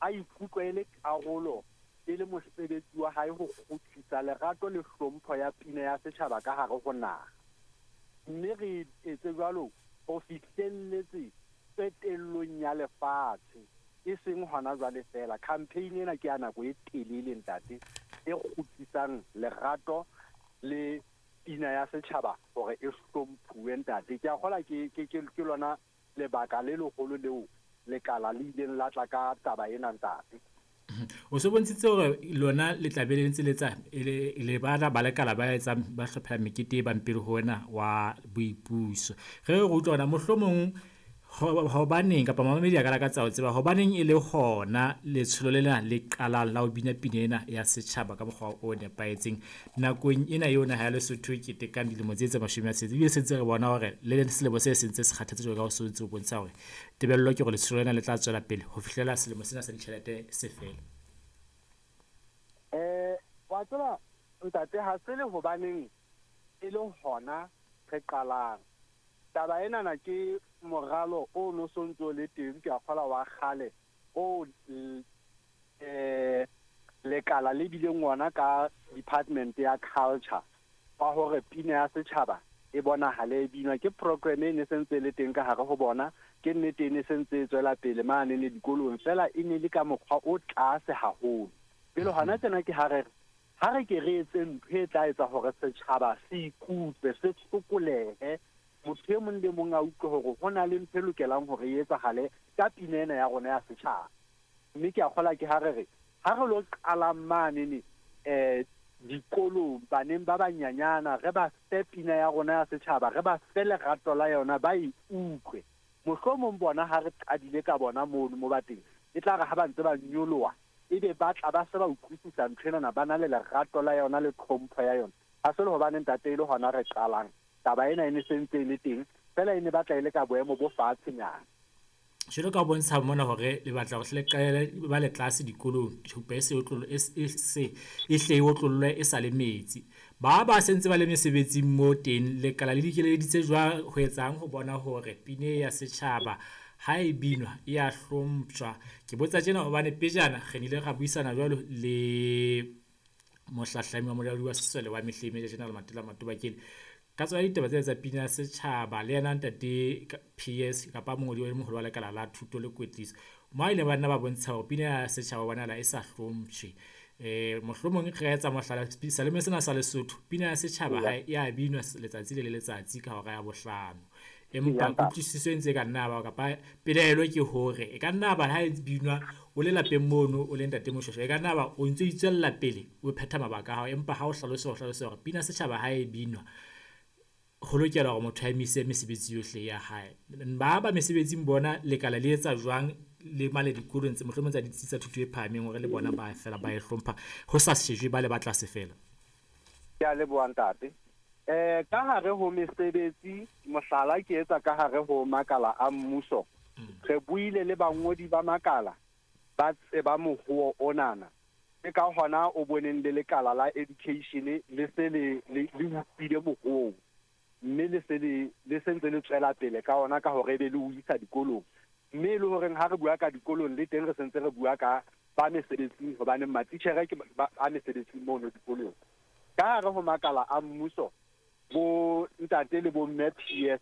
a ikutlwe e le karolo, e le mosebetsi wa hae ho kgutlisa lerato le hlompho ya pina ya setjhaba ka hare ho naha. Mme re etse jwalo ho fihlelletse qetellong ya lefatshe, e seng hona jwale feela. Campaign ena ke ya nako e telele, ntate, e kgutlisang lerato le pina ya setjhaba hore e hlomphuwe, ntate. Ke a kgola ke lona lebaka le leholo leo lekala le ileng la tla ka taba ena, ntate. O se bontshitse hore lona le tla be le ntse le etsa le bana ba lekala ba etsang ba hlophela mekete e bang pele ho wena wa boipuso. Re re utlwa hore mohlomong hobaneng kapa mamamedi a ka lakatsa ho tseba hobaneng e le hona letsholo lena le qalang la ho bina pina ena ya setjhaba ka mokgwa o nepahetseng nakong ena eo naha ya Lesotho e ketekang dilemo tse 60, ebile se ntse re bona hore le selemo se sentse se kgathetse jwalo ka ho se ntse o bontsha hore tebello ke hore letsholo lena le tla tswela pele ho fihlela selemo sena sa ditjhelete se fela. Wa tseba, ntate, ha se le hobaneng e le hona re qalang. Taba enana ke moralo o no sontso le teng, ke a kgola wa kgale o lekala le bileng ona ka department ya culture wa hore pina ya setjhaba e bonahale e binwa. Ke program e ne sentse le teng ka hare ho bona, ke nnete e ne sentse e tswela pele mane ne dikolong, fela e ne le ka mokgwa o tlase haholo. Pele hona tjena ke ha re ke re etse ntho e tla etsa hore setjhaba se ikutlwe, se sokolehe, motho e mong le mong a utlwe hore ho na le ntho e lokelang hore e etsahale ka pina ena ya rona ya setjhaba. Mme ke a kgola ke ha re re ha re lo qalang mane ne dikolong, baneng ba banyanyana, re ba fe pina ya rona ya setjhaba, re ba fe lerato la yona, ba e utlwe. Mohlomong bona ha re qadile ka bona mono mo ba teng, e tla re ha ba ntse ba nyoloha, ebe ba tla ba se ba utlwisisa ntho enana, ba na le lerato la yona le tlhompho ya yona. Ha se le hobane, ntate, e le hona re qalang. Taba ena e ne sentse e le teng, fela e ne batla e le ka boemo bo fatshenyana. Jwalo ka bontsha mona hore le batla hore le qalele ba le tlase dikolong, thupa e se e se e hle e otlollwe e sa le metsi. Ba sentse ba le mesebetsing mo teng, lekala le dikeleditse jwang ho etsang ho bona hore pina ya setjhaba ha e binwa e ya hlompshwa? Ke botsa tjena hobane pejana re nile ra buisana jwalo le mohlahlami wa molaodi wa sesole wa mehleng, Major General Matela Matobakele, ka tsona ditaba tsena tsa pina ya setjhaba. Le yena ntate PS kapa mongodi wa moholo wa lekala la thuto le kwetliso, mo a ile ba nna ba bontsha hore pina ya setjhaba bonahala e sa hlompshwe. Mohlomong re ka etsa mohlala, selemo sena sa Lesotho pina ya setjhaba ha e a binwa letsatsi le letsatsi ka hora ya 5, empa kutlwisiso e ntse e ka nna ba kapa pelaelo ke hore e ka nna ba ha e binwa o le lapeng mono, o le ntate Moshweshwe, e ka nna ba o ntso itswella pele o phetha mabaka a hao, empa ha o hlalose hore pina setjhaba ha e binwa ho lokela hore motho a emise mesebetsi yohle ya hae. Ba ba mesebetsing bona lekala le etsa jwang le mane dikolong tse mohlomong tsa ditsi tsa thuto e phahameng hore le bona ba fela ba e hlompha ho sa shejwe ba le ba tlase fela? Ke a leboha, ntate. Ka hare ho mesebetsi, mohlala ke etsa ka hare ho makala a mmuso, re buile le bangodi ba makala ba tseba mohoo onana. Ke ka hona o boneng le lekala la education le se le utlwile mohoo, mme le se le sentse le tswela pele ka ona ka hore ebe le o isa dikolong. Mme e le horeng ha re bua ka dikolong le teng re sentse re bua ka ba mesebetsing, hobane matitjhere ke ba mesebetsing mono dikolong. Ka hare ho makala a mmuso, bo ntate le bo mme PS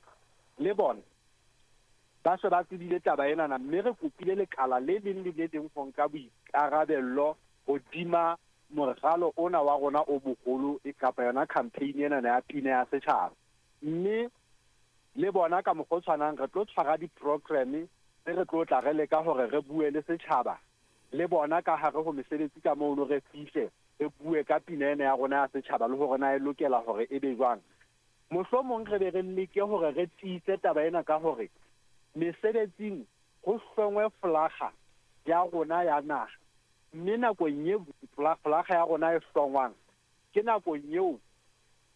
le bona ba se ba tsebile taba enana, mme re kopile lekala le leng le le leng ho nka boikarabello hodima moralo ona wa rona o moholo, kapa yona campaign ena ya pina ya setjhaba. Mme le bona ka mokgwa o tshwanang re tlo tshwara di-programme tse re tlo tla re leka hore re bue le setjhaba le bona ka hare ho mesebetsi ka mono, re fihle re bue ka pina ena ya rona ya setjhaba le hore na e lokela hore e be jwang. Mohlomong re be re leke hore re tiise taba ena ka hore mesebetsing ho hlongwe folaga ya rona ya naha, mme nakong e folaga ya rona e hlongwang ke nakong eo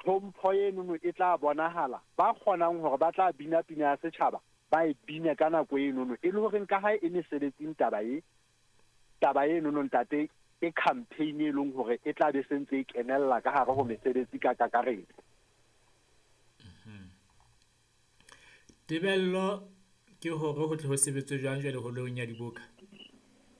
tlhompho enono e tla bonahala, ba kgonang hore ba tla bina pina ya setjhaba ba e bine ka nako enono, e le horeng ka ha e mesebetsing taba enono, ntate, ke campaign e leng hore e tla be sentse e kenella ka hare ho mesebetsi ka kakaretso. Tebello ke hore ho tle ho sebetswe jwang jwale holong ya diboka?